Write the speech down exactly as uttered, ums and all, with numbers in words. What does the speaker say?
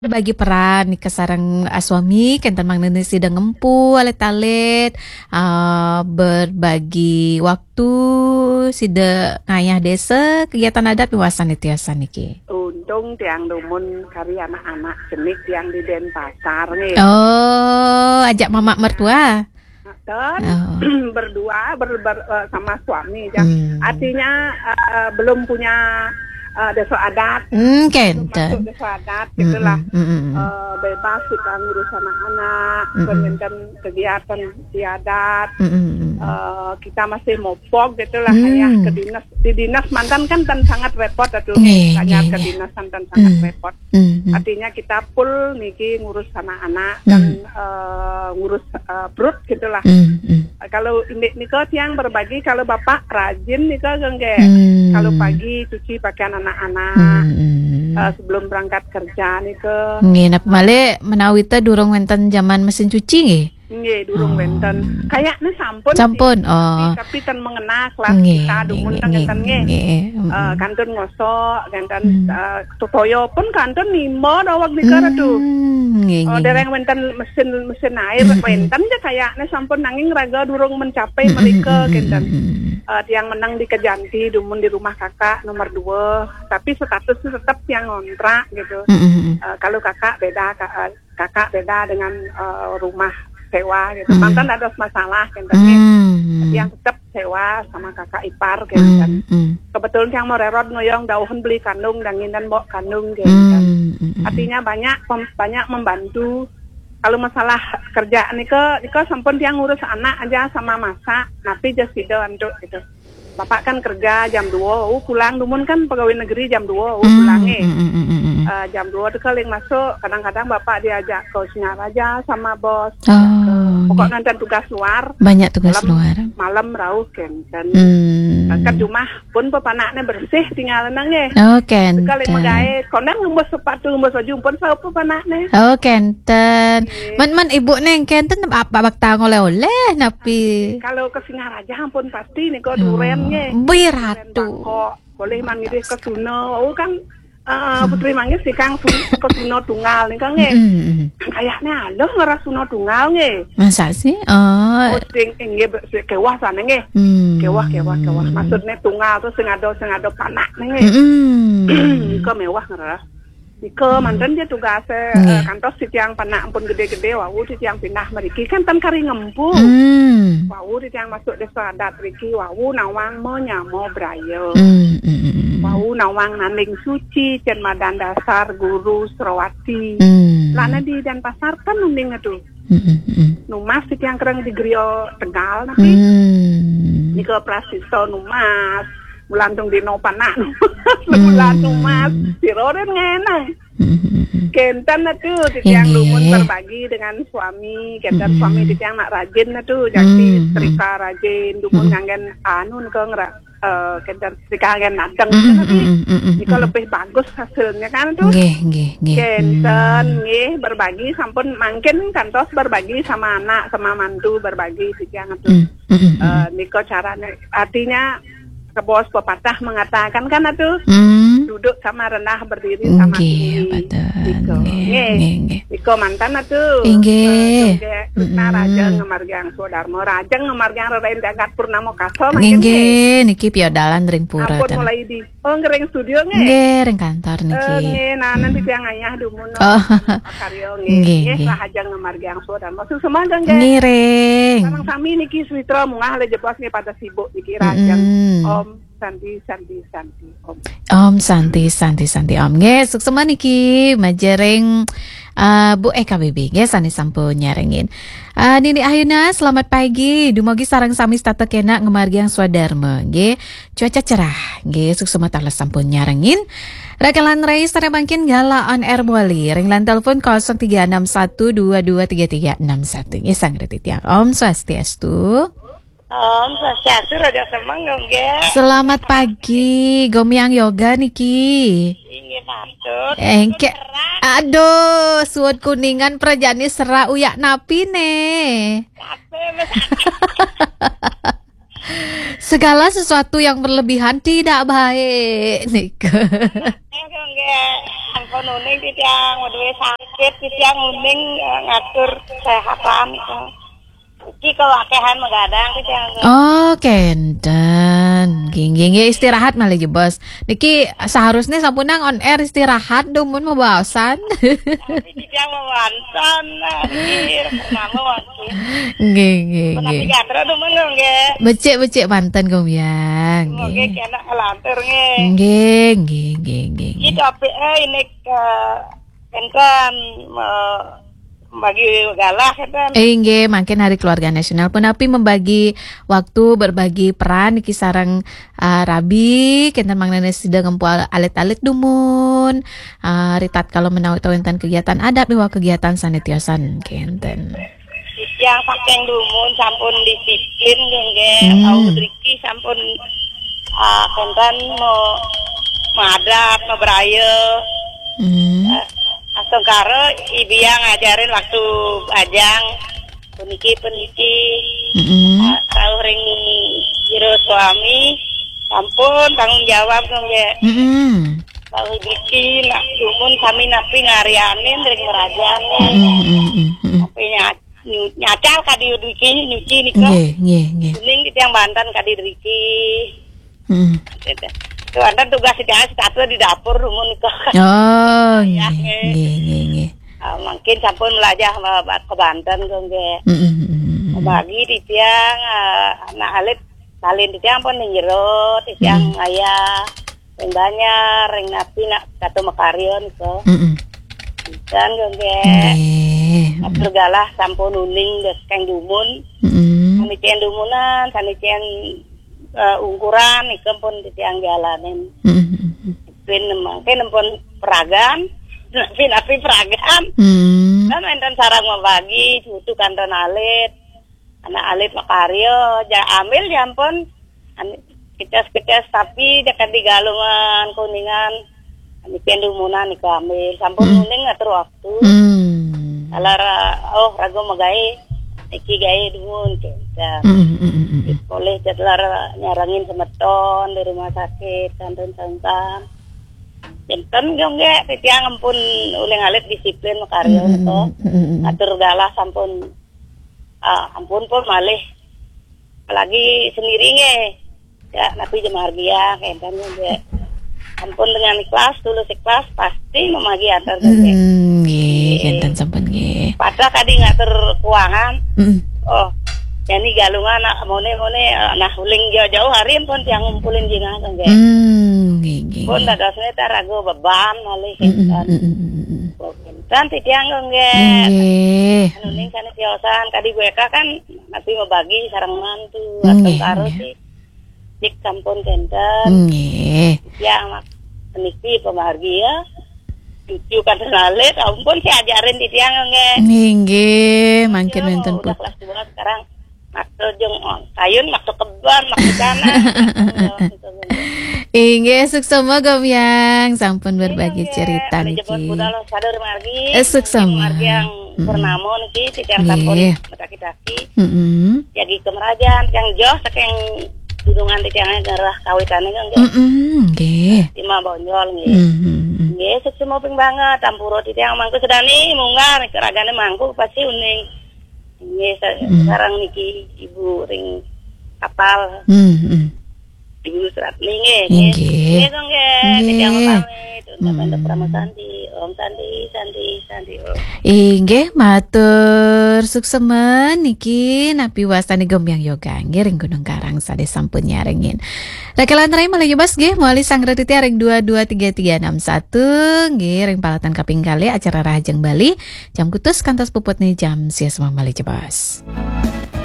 Berbagi peran nika sareng, ah, suami, kenten mangdane sida ngempu alit-alit, ah, berbagi waktu, sida ngayah desa, kegiatan adat miwah sane tiasan niki. Untung tiang dumun kari anak-anak cenik tiang di Denpasar nggih. Oh, ajak mamak mertua? Dan Oh. berdua ber, ber, eh, sama suami ya. Hmm. Artinya, eh, belum punya, eh, desa adat. Hmm, Belum kenten. masuk desa adat gitulah. Mm-mm, mm-mm. Eh, bebas kita ngurus anak-anak, Mm-mm. bermain kegiatan di adat. Mm-mm, mm-mm. Eh, kita masih mopog gitulah, Hmm. ayah ke dinas. Di dinas mantan kan tan sangat repot atuh. Nggih, Tanya nggih, ke nggih. dinas tan sangat Hmm. repot. Hmm, hmm. Artinya kita full niki ngurus anak-anak dan, Hmm. eh, ngurus, eh, perut gitulah. Hmm, hmm. Eh, kalau indik nika tiang berbagi, kalau bapak rajin nika nggih. Hmm. Kalau pagi cuci pakaian anak-anak. Hmm, hmm. Eh, sebelum berangkat kerja nika. Nggih, napa malih menawi ta durung wenten zaman mesin cuci nggih? Nggih, durung Oh. wenten. Kayaknya sampun Sampun, sih, tapi, oh. tapi ten mengenah lah Nggih, kita nggih, dumun nggih, ten nggih, ngeten nggih. nggih, nggih. Eh, Mm-mm. kantun ngosok, kantun, Mm. eh, totoyo pun kantun nimo daweg nika, Ratu. Mm, nggih, Oh, nggih, dereng nggih. wenten mesin, mesin air, Mm-mm. wenten ja kayaknya sampun nanging raga durung mencapai Mm-mm, mereka, mm-mm, kenten. mm-mm. Eh, tiang menang di Kejanti, dumun di rumah kakak nomor dua, tapi statusnya tetap tiang ngontrak gitu. Mm-mm, mm-mm. Eh, kalau kakak beda, ka-, eh, kakak beda dengan, eh, rumah sewa gitu. Hmm. Mantan ada masalah gitu. Hmm. Yang tetap sewa sama kakak ipar gitu kan. Hmm, hmm. Kebetulan yang mau rerot ngoyong dauhan beli kandung dan nginden mbok kandung gitu kan. Hmm, hmm, hmm. Artinya banyak pem-, banyak membantu. Kalau masalah kerja nika, nika sampun tiang ngurus anak aja sama masak, napi ja sida antuk gitu. Bapak kan kerja jam dua, oh, pulang dumun kan pegawai negeri jam dua, oh, Hmm, pulang eh. hmm, hmm, hmm, hmm, hmm. Eh, jam dua tu kaling masuk, kadang-kadang bapak diajak ke Singaraja sama bos. Oh, Pokok nggih. nonton tugas luar. Banyak tugas Malam, luar. malam rauh kenten. Hmm. Kan rumah pun pepanaknya bersih tinggal nang eh. Oh, Sekali kenten. megai, konen ngembus sepatu, ngembus baju pun sapa pepanaknya. Oh, kenten. Nggih. Man, man ibu neng kenten apa bakta oleh-oleh napi? Kalau ke Singaraja ampun pasti nika Oh, duren nggih. Bih Duren ratu. Bangkok. Boleh manggih ke Suna. Oh kan, eh, Hmm. Putri manggih sikang Su-, ke Suna tunggal nika nggih. Mm-mm. Kayaknya ada ngeras Suna tunggal nggih. Masa sih? Oh. Oh, sing inggih be-, si kewah sana nggih. Hmm. Kewah, kewah, kewah. Maksudnya tunggal tu sing ada, sing ada panak nggih. Mm-mm. Nika mewah ngeras. Nika Hmm. manten je tugas, eh, Nggih. kantos titiang panak ampun gede-gede, wau titiang pindah meriki kan tan kari ngempu. Hmm. Wau titiang masuk desa adat riki, wau nawang menyama braya. Hmm, hmm, hmm, hmm. Wau nawang nanding suci, cen madan dasar guru Serawati. Hmm. Lana di Denpasar kan nanding tu. Hmm, hmm, hmm. Numas titiang kereng di Grio Tegal napi. Hmm. Nika prasista numas. Bulan tung dino panak numas. Bulan Hmm. numas. Sira rin ngenang. Hmm, hmm, hmm. Kenten atu titiang Inggih. lumun berbagi dengan suami. Kenten Hmm. suami titiang nak rajin atu. Jadi Hmm. setrika rajin. Dumun Hmm. nganggen anu nika ngera-, eh, kenten setrika nganggen nadeng Hmm, nika hmm, napi. hmm, hmm, hmm, Nika hmm. lebih bagus hasilnya kan tu. Nggih, nggih, nggih. Kenten Hmm. nggih berbagi sampun mangkin kantos berbagi sama anak, sama mantu berbagi titiang atu. Hmm, hmm, hmm, hmm. Eh, nika caranya. Artinya kebos pepatah mengatakan kan atu, Hmm. duduk sama rendah, berdiri sama Nggih, tinggi. betul. Nika. Nggih, Nggih. nggih, nggih. Nika mantan atu. Inggih. Eh, nggih. Krishna Mm-mm. Raja Ngemargiang Swadarma, Raja Ngemargiang Rerain Jagat Purnama Kasa, makin Inggih, nggih. niki piodalan ring pura Ampun ten. mulai di, oh, ngering studio nggih. Nggih, ring kantor niki. Eh, nggih, nah, nanti Hmm. tiang ayah dumun. Oh. Karya nggih. Nggih, Nggih, nggih. Rahaja Ngemargiang Swadarma. Suksma nggih. Ngiring. Sareng sami niki Switra munggah le jebos nggih pada sibuk niki Raja. Mm-mm. Om Santi, Santi, Santi, Om. Om Santi, Santi, Santi, Om. Nggih, suksma niki majeng ring, uh, Bu E K B B, nggih, sane sampun nyarengin. Uh, Nini Ayuna, selamat pagi. Dumogi sareng sami setata kenak ngemargiang swadarma, nggih. Cuaca cerah, nggih, suksma taler sampun nyarengin. Rakalan rai sare mangkin gala on air bali. Ring line telepon kosong tiga enam satu dua dua tiga tiga enam satu. Nggih, sang reti tiang. Om Swastiastu. Om Swastiastu, Raja Semeng, nggih. Selamat pagi, Gomiang Yoga niki. Inggih, patut. Engke-, Serak. Aduh, suud Kuningan prajani serak uyak napi ne? Kape, Mas? Segala sesuatu yang berlebihan tidak baik, nika. Nggih, ampun uning titiang, waduh sakit titiang uning, eh, ngatur kesehatan itu. Iki kawakehan magadang titiang. Oh, kenten. Nggih, nggih, nggih, istirahat malih jebos. Niki seharusnya sampunang on air istirahat dumun mabaosan. Tapi titiang mawanten, nah, niki purnama mangkin. Nggih, nggih, menawi nggih. Gatra dumun nggih. Becik-becik manten Gombyang. Nggih, nggih. Kena kalantur nggih. Nggih, nggih, nggih, nggih, nggih. Kita P A ini ke enten, eh, bagi galah enten. Eh, nggih, mangkin Hari Keluarga Nasional punapi membagi waktu, berbagi peran niki sareng, ah, rabi, kenten mangdane sida ngempu al-, alit-alit dumun, ah, ritatkala menawi wenten kegiatan adat miwah kegiatan sane tiosan kenten. Titiang saking dumun sampun disiplin nggih, nggih. Hmm. Au driki sampun, ah, kenten mau madat, mau beraya. Hmm. Ah, astungkara ibu yang ngajarin waktu bajang puniki, puniki. Mm-mm. Ah, rauh ring jero suami sampun tanggung jawab nggih. Mm-mm. Rauh driki nak dumun sami napi ngaryanin ring merajan. Mm-mm, mm-mm, mm-mm. Tapi nya-, nyu-, nyacal kadi driki nyuci nika. Nggih, nggih, nggih. Kuning titiang banten kadi driki. Hmm. Gitu. Tuh, enten tugas secara satu di dapur dumun nika. Oh, ya, nggih, nggih, nggih, nggih. Ah, mungkin sampun melajah ma-, ba-, ke Banten kok nggih. Hmm, hmm, hmm, hmm, hmm. Bagi titiang, ah, anak alit salin titiang pun ning jero, titiang hmm, ayah, ring banjar, ring napi nak kata makarya nika. Hmm, hmm. Dan kok nggih. Nggih. Atur galah sampun uning dek kang dumun. Hmm. Sami cen dumunan, sami cen eh, ungkuran nika pun titiang jalanin. Mm-mm. Pin mangke nempun peragan, napi-napi peragan. Hmm. Kan enten sareng mabagi, cucu kanten alit. Anak alit makarya, ja ambil jampun. An-, kecas-kecas tapi dekat di Galungan, Kuningan. Niki dumunan niku ambil. Sampun hmm, uning ngatur waktu. Hmm. Taler, oh, raga magaé, niki gaé dumun, kenten. Hmm, hmm, hmm, hmm. Polih taler nyarengin semeton di rumah sakit, kantun sangkan. Kenten, yo, nggih, titiang ampun uling alit disiplin makarya, hmm, hmm, to. Hmm, hmm, hmm. Atur galah sampun, ah, ampun pun malih. Apalagi sendiri nggih. Ya, napi jemargia, kenten nggih. Ampun dengan ikhlas, tulus ikhlas, pasti memagi antar nggih. Hmm, nggih, nggih. Kenten sampun nggih. Padahal kadi ngatur keuangan. Hmm. Oh, jani Galungan nak mone-mone, eh, nah uling jauh-jauh hari pun tiang ngumpulin jingah nggih. Hmm, nggih, nggih, pun nggih. Dadosne ta raga beban malih hmm, hmm, kenten. Hmm, hmm, hmm, hmm. Oh, kenten titiang nggih. Nggih. Anu ning sane tiosan kadi Bu Eka kan napi mabagi sareng mantu, hmm, atau nggih, karo nggih. Si Cik sampun kenten. Nggih. Ya, mak-, niki pemargi ya. Cucu kan lalit, ampun si ajarin titiang nggih. Nggih, nggih, mangkin wenten udah put- kelas dua sekarang. Maksa jeng, oh, kayun, maksa kebon, maksa tanah. Inggih, suksma Gombyang sampun berbagi cerita niki. Budal sadar margi. Eh, suksma. Margi yang purnama niki titiang sampun nggih. Mataki-taki. Mm-mm. Jagi kemerajan, yang joh saking gunungan titiang ngerah kawitane kan, nggih. Mm-mm, nggih. Tima bonjol, nggih. Mm-mm. Nggih, suksma ping banget, ampura titiang mangku sedani, munggah, ragane mangku pasti uning. Nggih, sa-, mm, sareng niki Ibu ring kapal. Mm-mm. Ibu Suratni, nggih, nggih. Nggih. Nggih, kok, nggih. Nggih. Titiang pamit, untuk Tante Pramasandi. Om Santi, Santi, Santi, Om. Inggih, matur suksma niki napi wastane Gombyang Yoga, nggih, ring Gunung Karang sade sampun nyarengin. Rakelan rai malih jebos, nggih, mawali sang raditya ring dua dua tiga tiga enam satu, nggih, ring palatan kaping kalih acara Rahajeng Bali, jam kutus kantos puputne jam sia semah malih jebos.